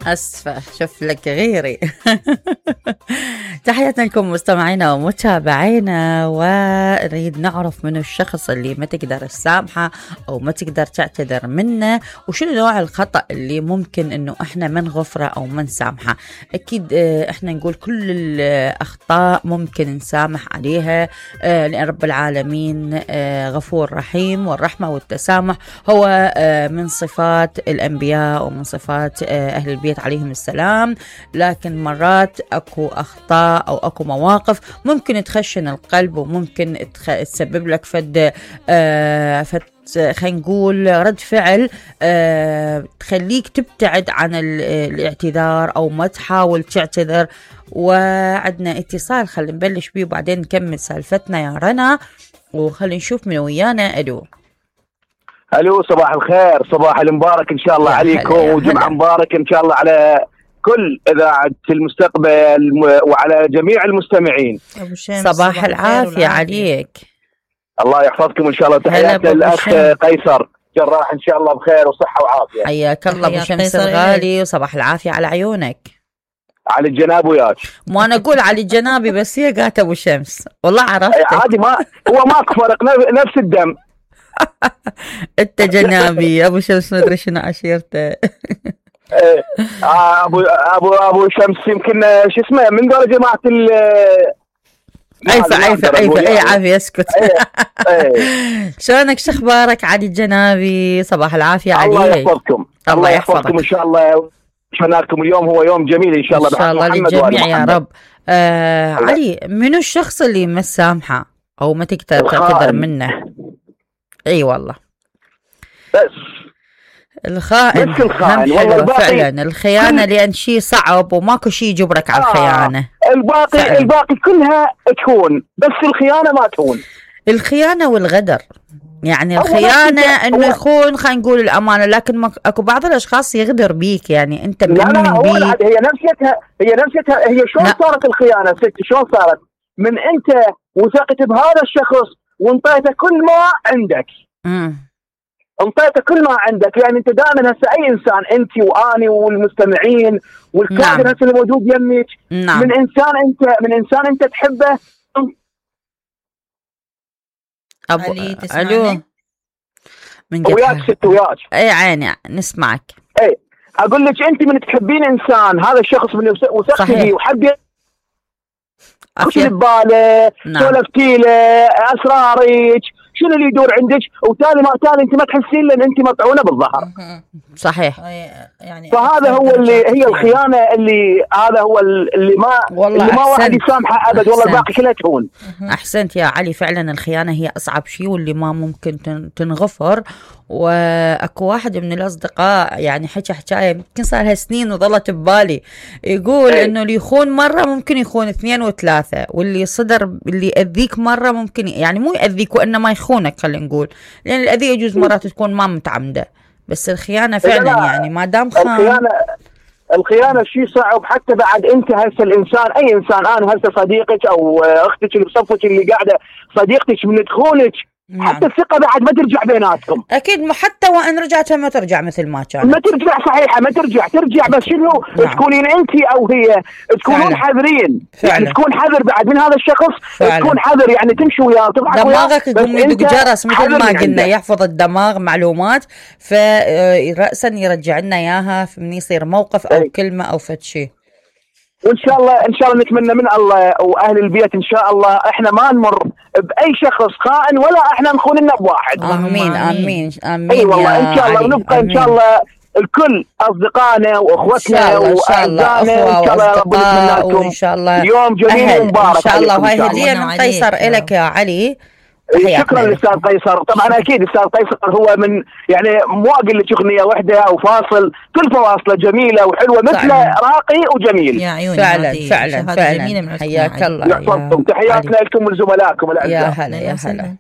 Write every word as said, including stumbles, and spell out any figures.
أسفة شوف لك غيري. تحياتنا لكم مستمعينا ومتابعينا، ونريد نعرف من الشخص اللي ما تقدر تسامحه أو ما تقدر تعتذر منه، وشنو نوع الخطأ اللي ممكن إنه إحنا ما نغفره أو ما نسامحه. أكيد إحنا نقول كل الأخطاء ممكن نسامح عليها، لأن رب العالمين غفور رحيم، والرحمة والتسامح هو من صفات الأنبياء ومن صفات أهل البيت عليهم السلام. لكن مرات أكو أخطاء أو أكو مواقف ممكن تخشن القلب، وممكن تسبب لك فد آه فد خلينا نقول رد فعل آه تخليك تبتعد عن الاعتذار أو ما تحاول تعتذر. وعدنا اتصال، خلينا نبلش بيه وبعدين نكمل سالفتنا يا رنا، وخلينا نشوف من ويانا. ألو الو، صباح الخير، صباح المبارك ان شاء الله عليكم، وجمعه مبارك ان شاء الله على كل اذاعه المستقبل وعلى جميع المستمعين. صباح العافيه عليك، الله يحفظكم ان شاء الله. تحياتي للاخ قيصر جراح، ان شاء الله بخير وصحه وعافيه. حياك الله ابو شمس الغالي، وصباح العافيه على عيونك. على الجناب وياك. ما انا اقول على الجنابي بس هي قالت ابو شمس، والله عرفتك. عادي، ما هو ماكو فرق، نفس الدم. انت جنابي، ابو شمس ما ادري شنو عشيرته. ابو ابو ابو شمس يمكن شو اسمه من دول جماعه ال عيفه عيفه عيفه اي عافيه اسكت. شلونك، شو اخبارك علي الجنابي؟ صباح العافيه عليك. الله يحفظكم، الله يحفظكم ان شاء الله. شفناكم اليوم، هو يوم جميل ان شاء الله. ان شاء الله للجميع يا رب. آه علي، منو الشخص اللي ما سامحه او ما تقدر تعتذر منه؟ اي والله بس الخائن. بس الخائن والله فعلا الخيانه، لان شيء صعب وماكو شيء يجبرك على الخيانه. آه. الباقي فعلا. الباقي كلها تكون، بس الخيانه ما تكون. الخيانه والغدر، يعني الخيانه انه يخون، خلينا نقول الامانه، لكن اكو بعض الاشخاص يغدر بيك، يعني انت مؤمن بيه. لا هي نفسيتها هي نفسيتها هي شلون صارت الخيانه ستي؟ شلون صارت؟ من انت وثقت بهذا الشخص وانطيته كل ما عندك. امم انطيته كل ما عندك، يعني انت دائما هسه اي انسان، انت واني والمستمعين والكادر هسه اللي موجود يمك، نعم. من انسان انت من انسان انت تحبه. ابو الو، من وياك ست وياك. اي عيني نسمعك. اي اقول لك، انت من تحبين انسان، هذا الشخص من وثقتي فيه وحبي وش اللي بباله، سولفتي له اسرارك، شنو اللي يدور عندك، وتالي ما تالي انت ما تحسين لان انت مطعونه بالظهر. صحيح. يعني فهذا هو اللي هي الخيانه، اللي هذا هو اللي ما اللي ما واحد يسامحه ابد، والله الباقي كله تهون. احسنت يا علي، فعلا الخيانه هي اصعب شيء واللي ما ممكن تنغفر. واكو واحد من الاصدقاء يعني حكى حكايه يمكن صار لها سنين وظلت ببالي، يقول ايه؟ انه اللي يخون مره ممكن يخون اثنين وثلاثه، واللي صدر اللي يأذيك مره ممكن يعني مو يأذيك وانما يخونك، خلينا نقول، لان الاذيه يجوز مرات تكون ما متعمده، بس الخيانه فعلا يعني ما دام خان. الخيانه الخيانه شيء صعب، حتى بعد انت هسه الانسان، اي انسان، انا هسه صديقك او اختك اللي بصفك اللي قاعده صديقتك من تخونك، نعم. حتى الثقة بعد ما ترجع بيناتكم. أكيد، حتى وإن رجعت ما ترجع مثل ما كانت. ما ترجع صحيحة، ما ترجع ترجع بس شنو؟ نعم. تكونين أنت أو هي تكونون حذرين، يعني تكون حذر بعد من هذا الشخص. فعلا. تكون حذر، يعني تمشي وياه تضحك وياه، دماغك يقوم يدق جرس مثل ما قلنا، يحفظ الدماغ معلومات، فرأسا يرجع لنا إياها من يصير موقف أو أي. كلمة أو فد شيء. وان شاء الله ان شاء الله نتمنى من الله واهل البيت ان شاء الله احنا ما نمر باي شخص خائن، ولا احنا نخون لنا بواحد. امين امين امين. اي والله ان شاء الله، ونبقى ان شاء الله الكل اصدقائنا واخوتنا واعزائنا ان شاء الله. ربنا يتمنى لكم ان شاء الله يوم جميل ومبارك ان شاء الله. وهي هديه من قيصر الك يا علي. شكرا للاستاذ قيصر. طبعا اكيد الاستاذ قيصر هو من يعني مو اقول لك اغنيه واحده او فاصل، كل فواصله جميله وحلوه مثل راقي وجميل. يا عيوني فعلا فعلا فعلا. حياك الله، يحفظكم. تحياتنا لكم ولزملائكم الاعزاء. يا هلا يا هلا.